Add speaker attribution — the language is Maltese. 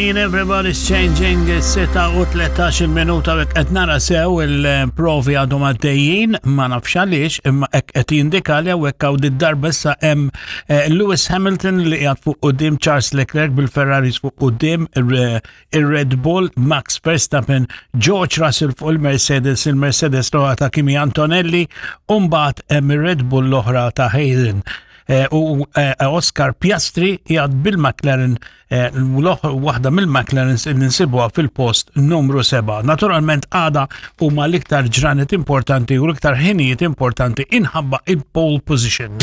Speaker 1: Everybody's Changing, 6 u 13 minuta u qed nara sew il-provi għadhom għaddejjin, ma nafx għaliex, imma hekk qed jindika li hawnhekk hawn darba issa hemm Lewis Hamilton li qiegħed fuq quddiem, Charles Leclerc bil-Ferraris fuq quddiem, ir-Red Bull, Max Verstappen, George Russell fuq il-Mercedes, il-Mercedes l ta' Kimi Antonelli, u mbagħad hemm ir-Red Bull l-oħra ta' Hayden. U Oscar Piastri qiegħed bil-McLaren, waħda mill-McLarens li nsibuha fil-post numru 7. Naturalment għada huma l-iktar ġranet importanti u l-iktar ħinijiet importanti inħabba il-pole position.